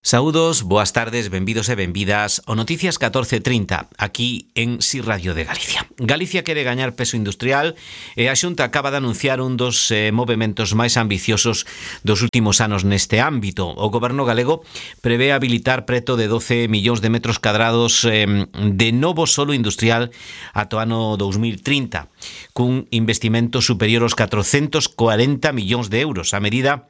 Saúdos, boas tardes, benvidos e benvidas ao Noticias 1430, aquí en Si Radio de Galicia. Galicia quere gañar peso industrial e a Xunta acaba de anunciar un dos movementos máis ambiciosos dos últimos anos neste ámbito. O Goberno galego prevé habilitar preto de 12 millóns de metros cadrados de novo solo industrial ata o ano 2030, cun investimento superior aos 440 millóns de euros. A medida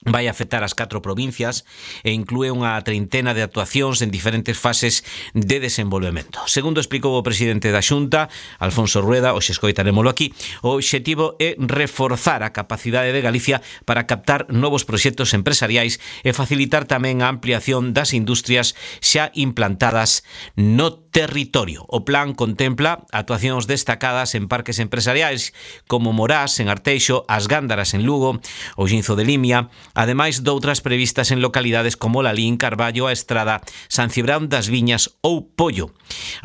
vai afectar as 4 provincias e inclúe unha treintena de actuacións en diferentes fases de desenvolvemento. Segundo explicou o presidente da Xunta, Alfonso Rueda, hoxe escoitarémolo aquí, o obxectivo é reforzar a capacidade de Galicia para captar novos proxectos empresariais e facilitar tamén a ampliación das industrias xa implantadas no territorio. O plan contempla actuacións destacadas en parques empresariais como Morás, en Arteixo, As Gándaras, en Lugo, o Xinzo de Limia, ademais doutras previstas en localidades como Lalín, Carballo, a Estrada, San Cibrán das Viñas ou Pollo.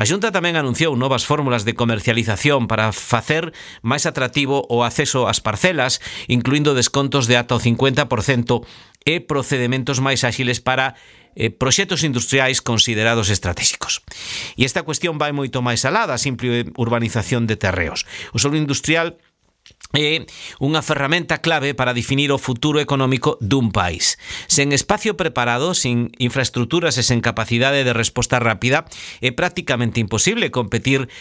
A Xunta tamén anunciou novas fórmulas de comercialización para facer máis atractivo o acceso ás parcelas, incluindo descontos de ata o 50% e procedementos máis áxiles para proxectos industriais considerados estratégicos. E esta cuestión vai moito máis alá da simple urbanización de terreos. O solo industrial é unha ferramenta clave para definir o futuro económico dun país. Sen espacio preparado, sin infraestructuras e sen capacidade de resposta rápida, é prácticamente imposible competir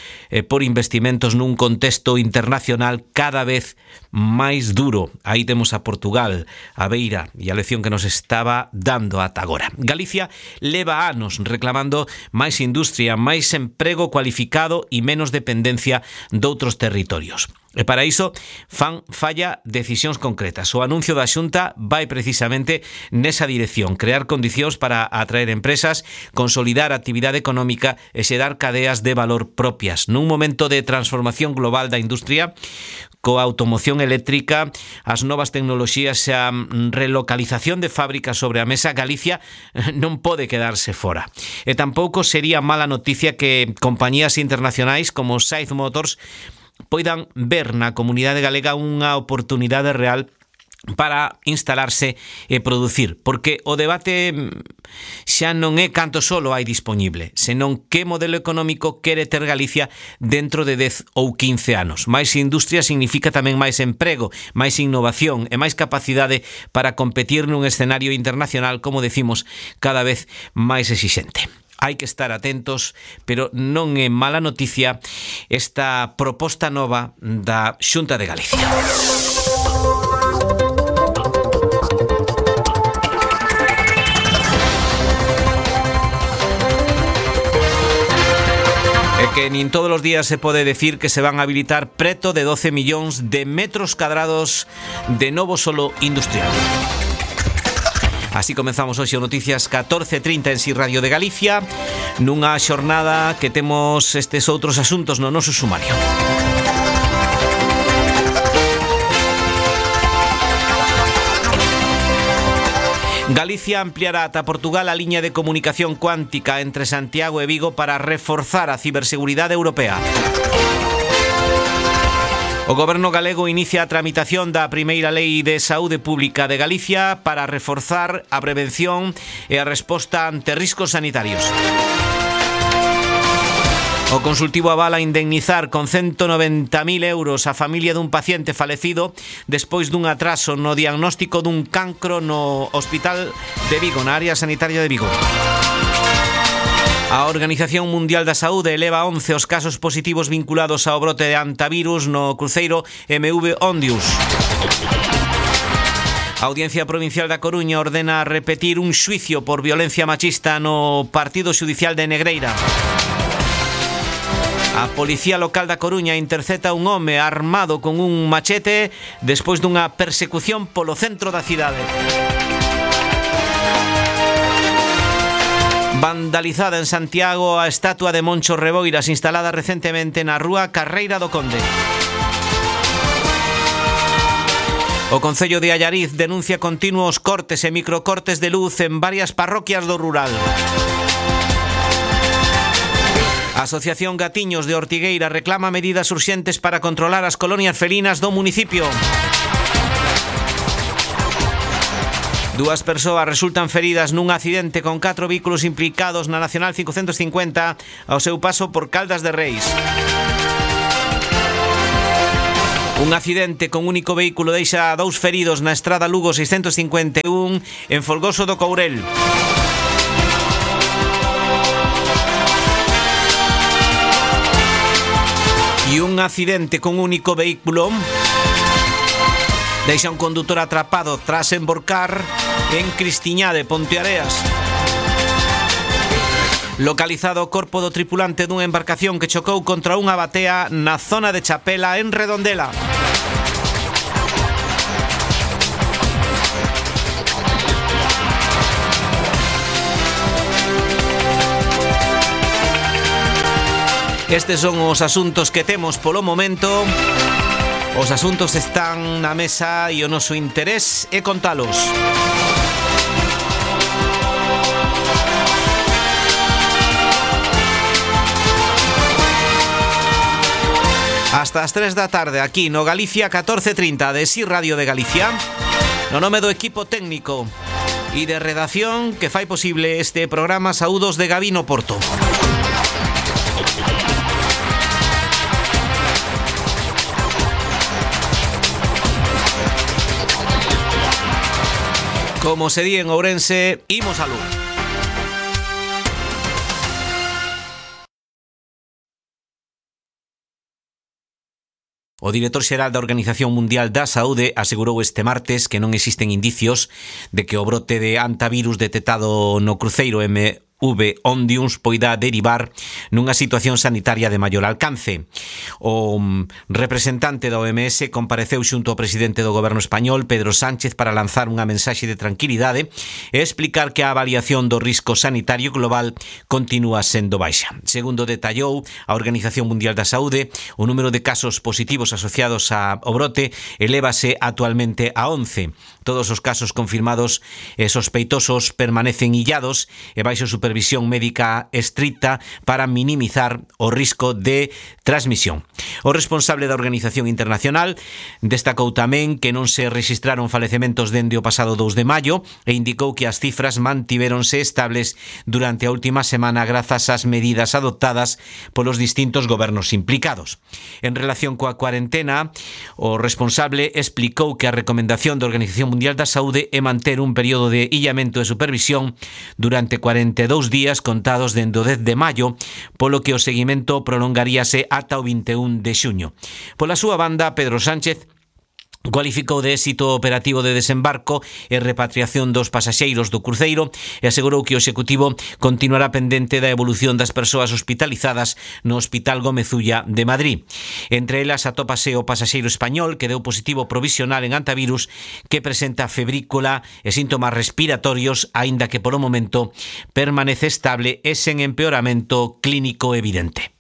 por investimentos nun contexto internacional cada vez máis duro. Aí temos a Portugal, a beira e a lección que nos estaba dando ata agora. Galicia leva anos reclamando máis industria, máis emprego cualificado e menos dependencia doutros territorios. E para iso falla decisións concretas. O anuncio da Xunta vai precisamente nesa dirección, crear condicións para atraer empresas, consolidar a actividade económica e xerar cadeas de valor propias. Nun momento de transformación global da industria, coa automoción eléctrica, as novas tecnoloxías e a relocalización de fábricas sobre a mesa, Galicia non pode quedarse fora. E tampouco sería mala noticia que compañías internacionais como Said Motors poidan ver na comunidade galega unha oportunidade real para instalarse e producir, porque o debate xa non é canto solo hai disponible, senón que modelo económico quere ter Galicia dentro de 10 ou 15 anos. Máis industria significa tamén máis emprego, máis innovación e máis capacidade para competir nun escenario internacional, como decimos, cada vez máis exixente. Hai que estar atentos, pero non é mala noticia esta proposta nova da Xunta de Galicia. É que nin todos os días se pode decir que se van a habilitar preto de 12 millóns de metros cadrados de novo solo industrial. Así comenzamos hoxe o Noticias 1430 en Si Radio de Galicia, nunha xornada que temos estes outros asuntos no noso sumario. Galicia ampliará ata Portugal a liña de comunicación cuántica entre Santiago e Vigo para reforzar a ciberseguridade europea. O Goberno galego inicia a tramitación da primeira Lei de Saúde Pública de Galicia para reforzar a prevención e a resposta ante riscos sanitarios. O Consultivo avala indemnizar con 190.000 euros a familia dun paciente falecido despois dun atraso no diagnóstico dun cancro no Hospital de Vigo, na área sanitaria de Vigo. A Organización Mundial da Saúde eleva 11 os casos positivos vinculados ao brote de hantavirus no cruceiro MV Ondius. A Audiencia Provincial da Coruña ordena repetir un xuicio por violencia machista no Partido Xudicial de Negreira. A Policía Local da Coruña intercepta un home armado con un machete despois dunha persecución polo centro da cidade. Vandalizada en Santiago a estatua de Moncho Reboiras instalada recentemente na rúa Carreira do Conde. O Concello de Allariz denuncia continuos cortes e microcortes de luz en varias parroquias do rural. A Asociación Gatiños de Ortigueira reclama medidas urxentes para controlar as colonias felinas do municipio. Dúas persoas resultan feridas nun accidente con 4 vehículos implicados na Nacional 550 ao seu paso por Caldas de Reis. Un accidente con único vehículo deixa 2 feridos na estrada Lugo 651 en Folgoso do Courel. E un accidente con único vehículo deixa un condutor atrapado tras emborcar en Cristiñade, Ponteareas. Localizado o corpo do tripulante dunha embarcación que chocou contra unha batea na zona de Chapela, en Redondela. Estes son os asuntos que temos polo momento. Os asuntos están na mesa e o noso interés é contalos. Hasta as 3 da tarde aquí no Galicia 1430 de Si Radio de Galicia. No nome do equipo técnico e de redacción que fai posible este programa, saúdos de Gabino Porto. Como se di en Ourense, imos a luz. O director xeral da Organización Mundial da Saúde asegurou este martes que non existen indicios de que o brote de hantavirus detectado no cruceiro MV Ondius poida derivar nunha situación sanitaria de maior alcance. O representante da OMS compareceu xunto ao presidente do goberno español, Pedro Sánchez, para lanzar unha mensaxe de tranquilidade e explicar que a avaliación do risco sanitario global continúa sendo baixa. Segundo detallou a Organización Mundial da Saúde, o número de casos positivos asociados ao brote elévase actualmente a 11. Todos os casos confirmados e sospeitosos permanecen illados e baixo supervisión médica estricta para minimizar o risco de transmisión. O responsable da Organización Internacional destacou tamén que non se rexistraron falecementos dende o pasado 2 de maio e indicou que as cifras mantivéronse estables durante a última semana grazas ás medidas adoptadas polos distintos gobernos implicados. En relación coa cuarentena, o responsable explicou que a recomendación da Organización Mundial da Saúde é manter un período de illamento e supervisión durante 42 días contados dende o 10 de maio, polo que o seguimento prolongaríase ata o 21 de xuño. Pola súa banda, Pedro Sánchez cualificou de éxito o operativo de desembarco e repatriación dos pasaxeiros do cruceiro e asegurou que o Executivo continuará pendente da evolución das persoas hospitalizadas no Hospital Gómez Ulla de Madrid. Entre elas atópase o pasaxeiro español que deu positivo provisional en hantavirus, que presenta febrícula e síntomas respiratorios, aínda que polo momento permanece estable e sen empeoramento clínico evidente.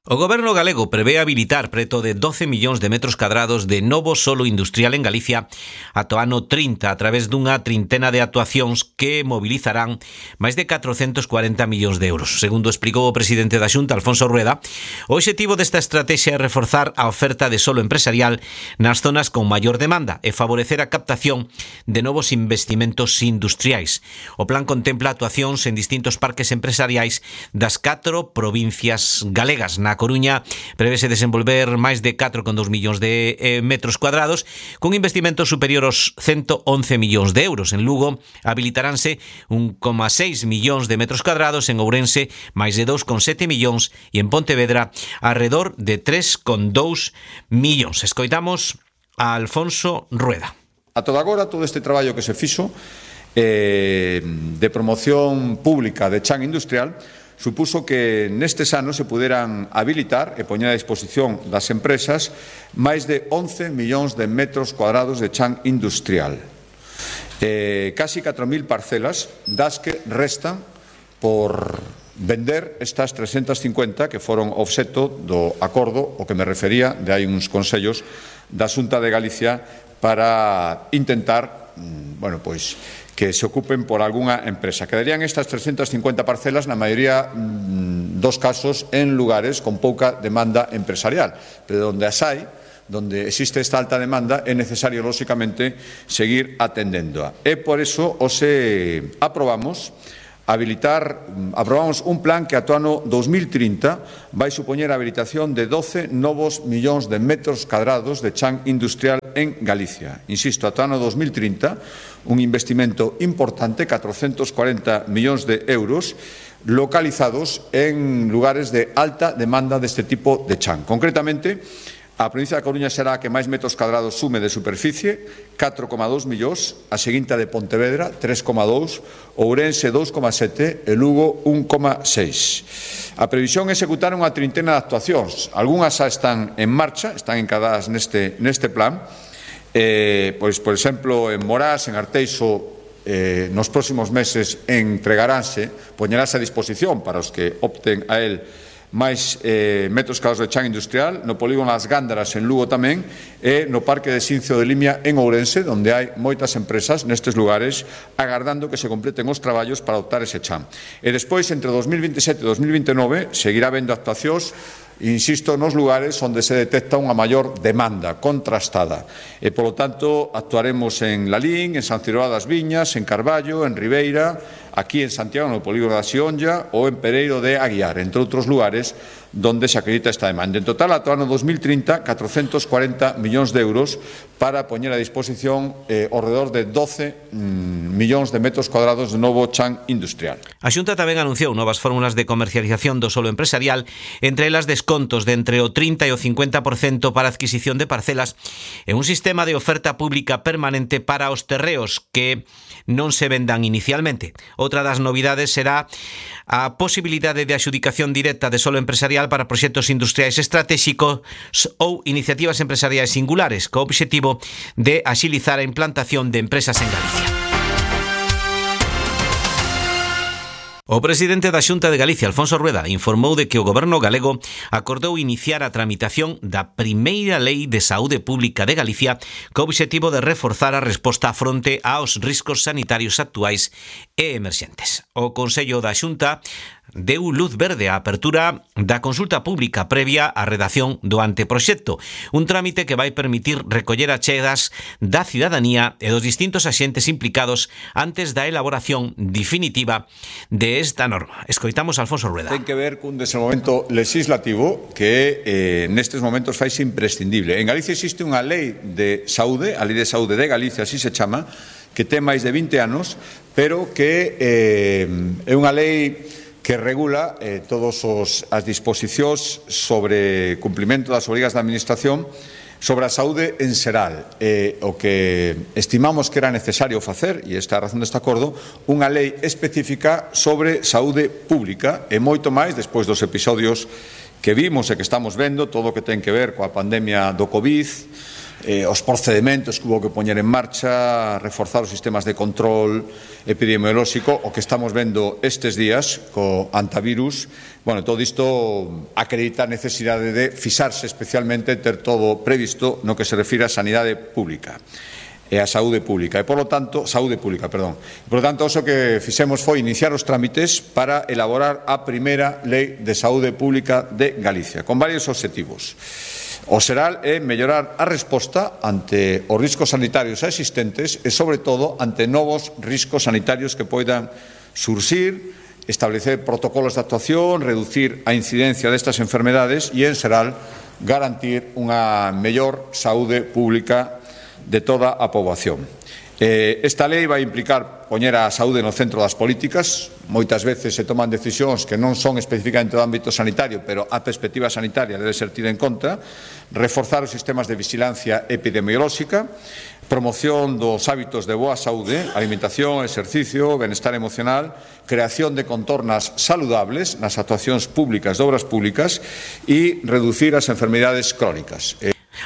O goberno galego prevé habilitar preto de 12 millóns de metros cadrados de novo solo industrial en Galicia ata o ano 30 a través dunha trintena de actuacións que mobilizarán máis de 440 millóns de euros. Segundo explicou o presidente da Xunta, Alfonso Rueda, o obxectivo desta estrategia é reforzar a oferta de solo empresarial nas zonas con maior demanda e favorecer a captación de novos investimentos industriais. O plan contempla actuacións en distintos parques empresariais das 4 provincias galegas. Na Coruña prevese desenvolver máis de 4,2 millóns de metros cuadrados con investimentos superior aos 111 millóns de euros. En Lugo habilitaránse 1,6 millóns de metros cuadrados, en Ourense máis de 2,7 millóns e en Pontevedra alrededor de 3,2 millóns. Escoitamos a Alfonso Rueda. A toda agora, todo este traballo que se fixo de promoción pública de chan industrial supuso que nestes anos se puderan habilitar e poñer a disposición das empresas máis de 11 millóns de metros cuadrados de chan industrial. Casi 4.000 parcelas das que restan por vender estas 350 que foron obxecto do acordo o que me refería de hai uns consellos da Xunta de Galicia para intentar, que se ocupen por algunha empresa. Quedarían estas 350 parcelas, na maioría dos casos, en lugares con pouca demanda empresarial, pero onde as hai, donde existe esta alta demanda, é necesario, lóxicamente, seguir atendéndoa. E por eso aprobamos un plan que ata o ano 2030 vai supoñer a habilitación de 12 novos millóns de metros cadrados de chan industrial en Galicia. Insisto, ata o ano 2030, un investimento importante, 440 millóns de euros, localizados en lugares de alta demanda deste tipo de chan. Concretamente, a provincia da Coruña será a que máis metros cadrados sume de superficie, 4,2 millóns, a seguinte de Pontevedra, 3,2, Ourense, 2,7 e Lugo, 1,6. A previsión é executar unha trintena de actuacións. Algúnas xa están en marcha, están encadadas neste plan. Pois, por exemplo, en Morás, en Arteixo, nos próximos meses entregaránse, poñerase a disposición para os que opten a él máis metros cadrados de chan industrial, no polígono As Gándaras en Lugo tamén, e no Parque de Xincio de Limia en Ourense, onde hai moitas empresas nestes lugares agardando que se completen os traballos para adoptar ese chan. E despois, entre 2027 e 2029, seguirá habendo actuacións, insisto, nos lugares onde se detecta unha maior demanda contrastada. E, polo tanto, actuaremos en Lalín, en San Ciroá das Viñas, en Carballo, en Ribeira, aquí en Santiago, no polígono da Xionlla, ou en Pereiro de Aguiar, entre outros lugares donde se acredita esta demanda. En total, ata o ano 2030, 440 millóns de euros para poñer a disposición ao redor de 12 millóns de metros cuadrados de novo chan industrial. A Xunta tamén anunciou novas fórmulas de comercialización do solo empresarial, entre elas descontos de entre o 30 e o 50% para a adquisición de parcelas e un sistema de oferta pública permanente para os terreos que non se vendan inicialmente. Outra das novidades será a posibilidade de adxudicación directa de solo empresarial para proxectos industriais estratégicos ou iniciativas empresariais singulares, co obxectivo de axilizar a implantación de empresas en Galicia. O presidente da Xunta de Galicia, Alfonso Rueda, informou de que o goberno galego acordou iniciar a tramitación da primeira lei de saúde pública de Galicia co obxectivo de reforzar a resposta fronte aos riscos sanitarios actuais e emerxentes. O Consello da Xunta deu luz verde á apertura da consulta pública previa á redacción do anteproxecto, un trámite que vai permitir recoller achegas da cidadanía e dos distintos axentes implicados antes da elaboración definitiva de esta norma. Escoitamos a Alfonso Rueda. Ten que ver cun desenvolvemento legislativo que nestes momentos faise imprescindible. En Galicia existe unha lei de saúde, a Lei de Saúde de Galicia, así se chama, que ten máis de 20 anos, pero que é unha lei que regula todas as disposicións sobre cumprimento das obrigas da Administración sobre a saúde en xeral. O que estimamos que era necesario facer, e esta é a razón deste acordo, unha lei específica sobre saúde pública e moito máis despois dos episodios que vimos e que estamos vendo, todo o que ten que ver coa pandemia do COVID, os procedementos que hubo que poñer en marcha, reforzar os sistemas de control epidemiolóxico, o que estamos vendo estes días co antivirus. Bueno, todo isto acredita a necesidade de fixarse especialmente, ter todo previsto no que se refire á sanidade pública e a saúde pública. E, polo tanto, saúde pública, perdón. Por lo tanto, o que fixemos foi iniciar os trámites para elaborar a primeira lei de saúde pública de Galicia, con varios obxectivos. O xeral é mellorar a resposta ante os riscos sanitarios existentes e, sobre todo, ante novos riscos sanitarios que poidan surxir, establecer protocolos de actuación, reducir a incidencia destas enfermedades e, en xeral, garantir unha mellor saúde pública de toda a poboación. Esta lei vai implicar poñer a saúde no centro das políticas. Moitas veces se toman decisións que non son especificamente do ámbito sanitario, pero a perspectiva sanitaria debe ser tida en conta. Reforzar os sistemas de vigilancia epidemiolóxica, promoción dos hábitos de boa saúde, alimentación, exercicio, benestar emocional, creación de contornas saludables nas actuacións públicas de obras públicas e reducir as enfermidades crónicas.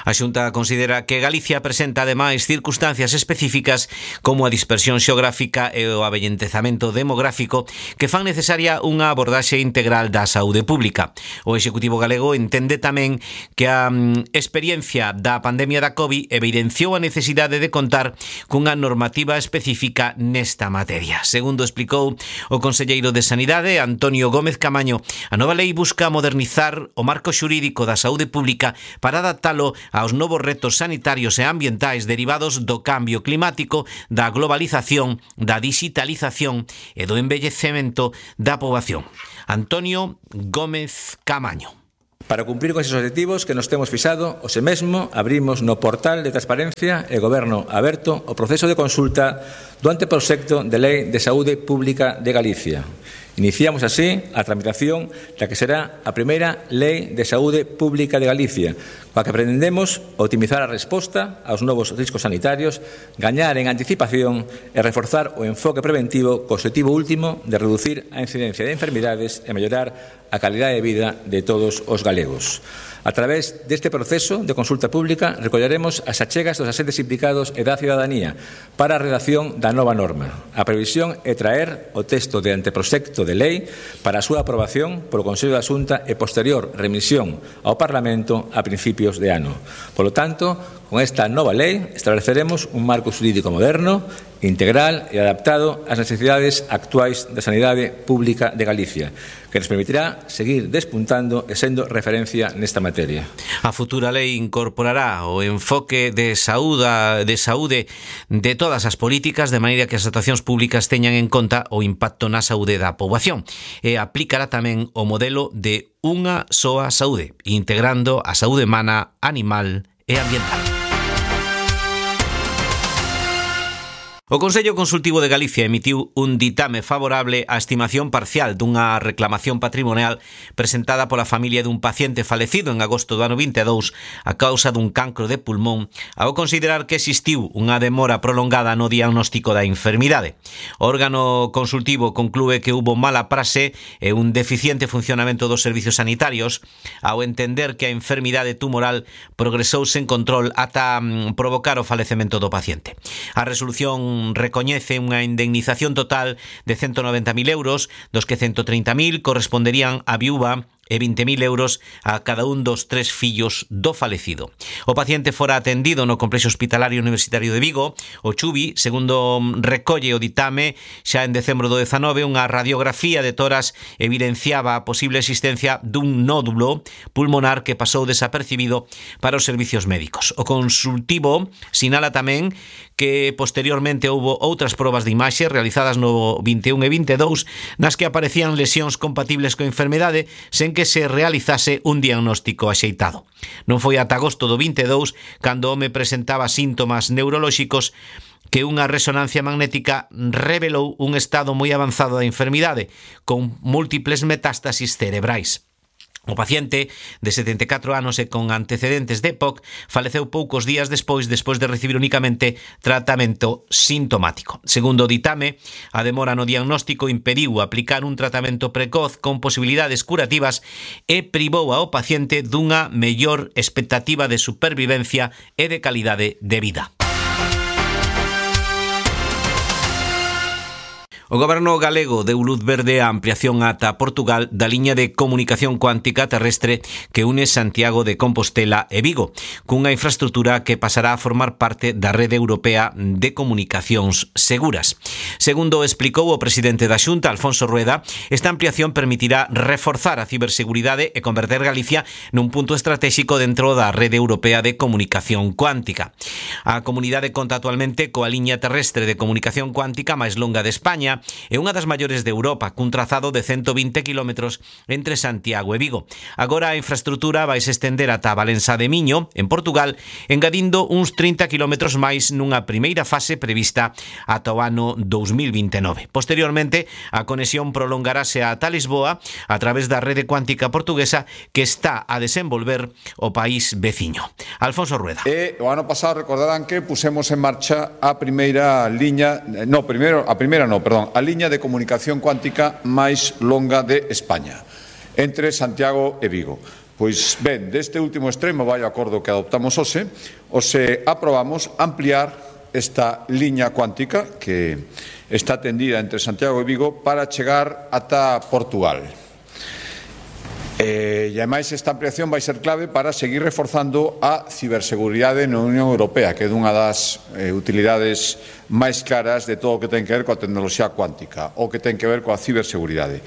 A Xunta considera que Galicia presenta ademais circunstancias específicas como a dispersión xeográfica e o avellentezamento demográfico que fan necesaria unha abordaxe integral da saúde pública. O Executivo galego entende tamén que a experiencia da pandemia da COVID evidenciou a necesidade de contar cunha normativa específica nesta materia. Segundo explicou o conselleiro de Sanidade, Antonio Gómez Camaño, a nova lei busca modernizar o marco xurídico da saúde pública para adaptalo aos novos retos sanitarios e ambientais derivados do cambio climático, da globalización, da digitalización e do envellecemento da poboación. Antonio Gómez Camaño. Para cumprir con esos objetivos que nos temos fixado, hoxe mesmo abrimos no portal de Transparencia e Goberno Aberto o proceso de consulta do anteproxecto de Lei de Saúde Pública de Galicia. Iniciamos así a tramitación da que será a primeira Lei de Saúde Pública de Galicia, coa que pretendemos optimizar a resposta aos novos riscos sanitarios, gañar en anticipación e reforzar o enfoque preventivo co objetivo último de reducir a incidencia de enfermidades e mellorar a calidade de vida de todos os galegos. A través deste proceso de consulta pública recolleremos as achegas dos axentes implicados e da cidadanía para a redacción da nova norma. A previsión é traer o texto de anteproxecto de lei para a súa aprobación polo Consello da Xunta e posterior remisión ao Parlamento a principios de ano. Polo tanto, con esta nova lei estableceremos un marco xurídico moderno, integral e adaptado ás necesidades actuais da sanidade pública de Galicia, que nos permitirá seguir despuntando e sendo referencia nesta materia. A futura lei incorporará o enfoque de saúde de todas as políticas, de maneira que as actuacións públicas teñan en conta o impacto na saúde da poboación, e aplicará tamén o modelo de unha soa saúde, integrando a saúde humana, animal e ambiental. O Consello Consultivo de Galicia emitiu un ditame favorable á estimación parcial dunha reclamación patrimonial presentada pola familia dun paciente falecido en agosto do ano 22 a causa dun cancro de pulmón, ao considerar que existiu unha demora prolongada no diagnóstico da enfermidade. O órgano consultivo conclúe que hubo mala praxe e un deficiente funcionamento dos servicios sanitarios ao entender que a enfermidade tumoral progresou sen control ata provocar o falecemento do paciente. A resolución recoñece unha indemnización total de 190.000 euros, dos que 130.000 corresponderían á viúva e 20.000 euros a cada un dos 3 fillos do falecido. O paciente fora atendido no Complexo Hospitalario Universitario de Vigo. O Chubi, segundo recolle o ditame, xa en decembro do 19, unha radiografía de toras evidenciaba a posible existencia dun nódulo pulmonar que pasou desapercibido para os servicios médicos. O consultivo sinala tamén que posteriormente houbo outras probas de imaxe realizadas no 21 e 22 nas que aparecían lesións compatibles coa enfermedade sen que se realizase un diagnóstico axeitado. Non foi ata agosto do 22 cando o home presentaba síntomas neurolóxicos que unha resonancia magnética revelou un estado moi avanzado da enfermidade con múltiples metástasis cerebrais. O paciente, de 74 anos e con antecedentes de EPOC, faleceu poucos días despois de recibir únicamente tratamento sintomático. Segundo o ditame, a demora no diagnóstico impediu aplicar un tratamento precoz con posibilidades curativas e privou ao paciente dunha mellor expectativa de supervivencia e de calidade de vida. O Goberno galego deu luz verde á ampliación ata Portugal da liña de comunicación cuántica terrestre que une Santiago de Compostela e Vigo, cunha infraestrutura que pasará a formar parte da Rede Europea de Comunicacións Seguras. Segundo explicou o presidente da Xunta, Alfonso Rueda, esta ampliación permitirá reforzar a ciberseguridade e converter Galicia nun punto estratégico dentro da Rede Europea de Comunicación Cuántica. A comunidade conta actualmente coa liña terrestre de comunicación cuántica máis longa de España é unha das maiores de Europa, cun trazado de 120 km entre Santiago e Vigo. Agora a infraestrutura vai se estender ata Valença de Miño, en Portugal, engadindo uns 30 km máis nunha primeira fase prevista ata o ano 2029. Posteriormente, a conexión prolongarase ata Lisboa a través da rede cuántica portuguesa que está a desenvolver o país veciño. Alfonso Rueda. O ano pasado recordarán que pusemos en marcha a primeira liña, a liña de comunicación cuántica máis longa de España, entre Santiago e Vigo. Pois ben, deste último extremo vai o acordo que adoptamos hoxe aprobamos ampliar esta liña cuántica que está tendida entre Santiago e Vigo para chegar ata Portugal. E ademais esta ampliación vai ser clave para seguir reforzando a ciberseguridade na Unión Europea, que é unha das utilidades máis claras de todo o que ten que ver coa tecnoloxía cuántica, o que ten que ver coa ciberseguridade.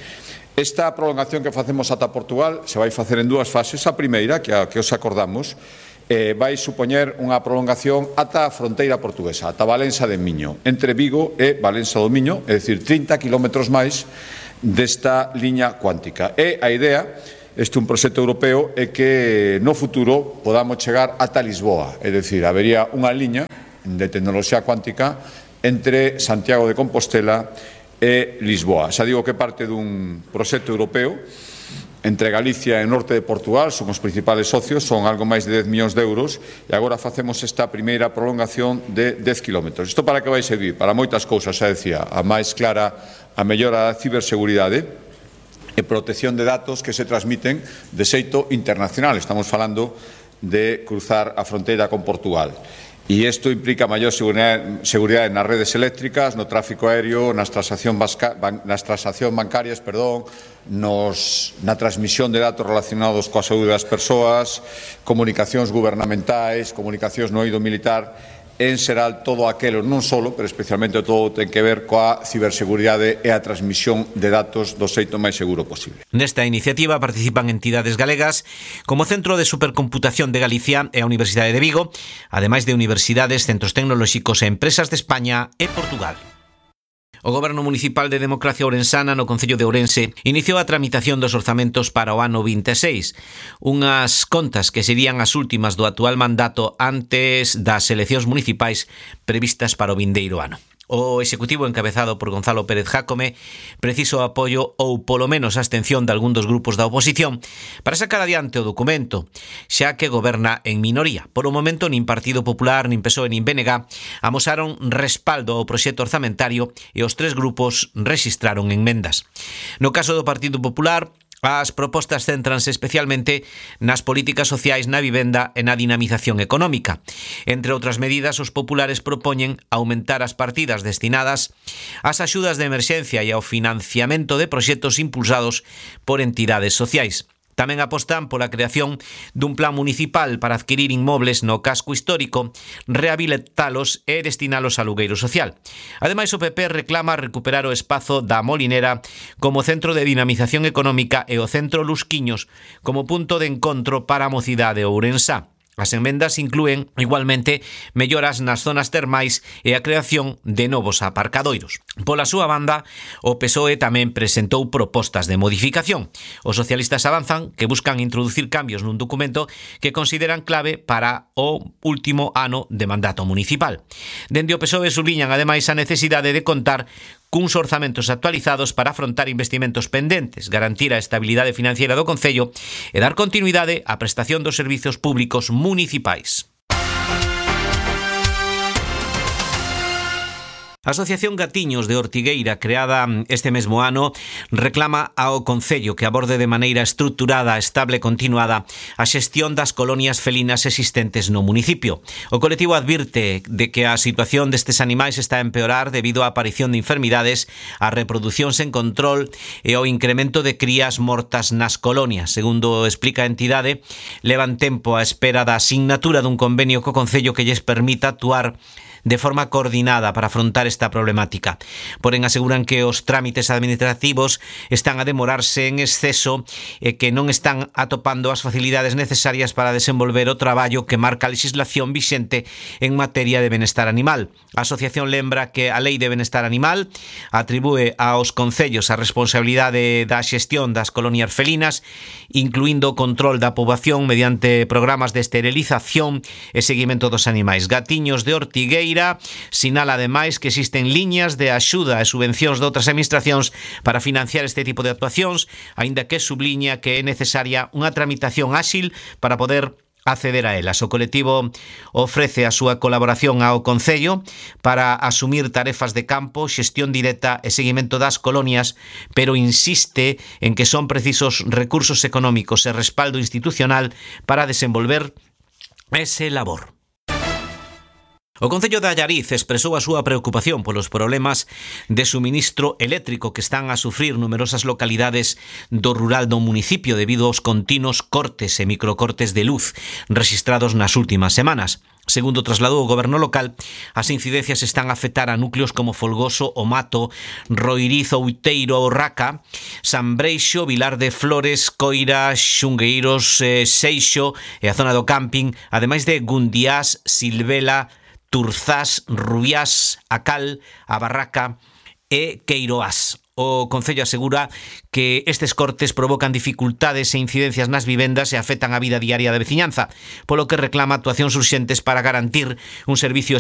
Esta prolongación que facemos ata Portugal se vai facer en dúas fases. A primeira, que os acordamos, vai supoñer unha prolongación ata a fronteira portuguesa, ata Valença de Miño, entre Vigo e Valença do Miño, é dicir, 30 kilómetros máis desta liña cuántica. E a idea, este é un proxecto europeo, é que no futuro podamos chegar ata Lisboa, é dicir, habería unha liña de tecnoloxía cuántica entre Santiago de Compostela e Lisboa. Xa digo que parte dun proxecto europeo entre Galicia e o norte de Portugal, son os principales socios, son algo máis de 10 millóns de euros, e agora facemos esta primeira prolongación de 10 kilómetros. Isto para que vai servir? Para moitas cousas, xa decía, a máis clara, a mellora da ciberseguridade e protección de datos que se transmiten de xeito internacional. Estamos falando de cruzar a fronteira con Portugal. E isto implica maior seguridade nas redes eléctricas, no tráfico aéreo, nas transaccións bancarias, na transmisión de datos relacionados coa saúde das persoas, comunicacións gubernamentais, comunicacións no eido militar, en xeral todo aquelo, non solo, pero especialmente todo ten que ver coa ciberseguridade e a transmisión de datos do xeito máis seguro posible. Nesta iniciativa participan entidades galegas como o Centro de Supercomputación de Galicia e a Universidade de Vigo, ademais de universidades, centros tecnolóxicos e empresas de España e Portugal. O Goberno Municipal de Democracia Ourensana no Concello de Ourense iniciou a tramitación dos orzamentos para o ano 26, unhas contas que serían as últimas do actual mandato antes das eleccións municipais previstas para o vindeiro ano. O Executivo, encabezado por Gonzalo Pérez Jácome, preciso apoio ou polo menos a abstención de algún dos grupos da oposición para sacar adiante o documento, xa que goberna en minoría. Por o momento, nin Partido Popular, nin PSOE, nin BNG amosaron respaldo ao proxecto orzamentario e os tres grupos rexistraron enmendas. No caso do Partido Popular, as propostas céntranse especialmente nas políticas sociais, na vivenda e na dinamización económica. Entre outras medidas, os populares propoñen aumentar as partidas destinadas ás axudas de emerxencia e ao financiamento de proxectos impulsados por entidades sociais. Tamén apostan pola creación dun plan municipal para adquirir inmobles no casco histórico, rehabilitalos e destinalos a alugueiro social. Ademais, o PP reclama recuperar o espazo da Molinera como centro de dinamización económica e o centro Lusquiños como punto de encontro para a mocidade ourensá. As enmendas inclúen, igualmente, melloras nas zonas termais e a creación de novos aparcadoiros. Pola súa banda, o PSOE tamén presentou propostas de modificación. Os socialistas avanzan que buscan introducir cambios nun documento que consideran clave para o último ano de mandato municipal. Dende o PSOE subliñan, ademais, a necesidade de contar cuns orzamentos actualizados para afrontar investimentos pendentes, garantir a estabilidade financiera do Concello e dar continuidade á prestación dos servizos públicos municipais. A Asociación Gatiños de Ortigueira, creada este mesmo ano, reclama ao Concello que aborde de maneira estruturada, estable e continuada a xestión das colonias felinas existentes no municipio. O colectivo advirte de que a situación destes animais está a empeorar debido á aparición de enfermidades, a reproducción sen control e ao incremento de crías mortas nas colonias. Segundo explica a entidade, levan tempo á espera da asignatura dun convenio co Concello que lles permita actuar de forma coordinada para afrontar esta problemática. Porén, aseguran que os trámites administrativos están a demorarse en exceso e que non están atopando as facilidades necesarias para desenvolver o traballo que marca a legislación vixente en materia de benestar animal. A asociación lembra que a Lei de Benestar Animal atribúe aos concellos a responsabilidade da xestión das colonias felinas, incluindo o control da poboación mediante programas de esterilización e seguimento dos animais. Gatiños de Ortigueira sinala ademais que existen liñas de axuda e subvencións de outras administracións para financiar este tipo de actuacións, aínda que subliña que é necesaria unha tramitación áxil para poder acceder a elas. O colectivo ofrece a súa colaboración ao Concello para asumir tarefas de campo, xestión directa e seguimento das colonias, pero insiste en que son precisos recursos económicos e respaldo institucional para desenvolver ese labor. O Concello de Allariz expresou a súa preocupación polos problemas de suministro eléctrico que están a sufrir numerosas localidades do rural do municipio debido aos continuos cortes e microcortes de luz rexistrados nas últimas semanas. Segundo trasladou o goberno local, as incidencias están a afectar a núcleos como Folgoso, O Mato, Roiriz, Outeiro, Orraca, San Breixo, Vilar de Flores, Coira, Xungueiros, Seixo e a zona do camping, ademais de Gundiás, Silvela, Turzás, Rubiás, A Cal, A Barraca e Queiroás. O Concello asegura que estes cortes provocan dificultades e incidencias nas vivendas e afectan a vida diaria da veciñanza, polo que reclama actuacións urxentes para garantir un servicio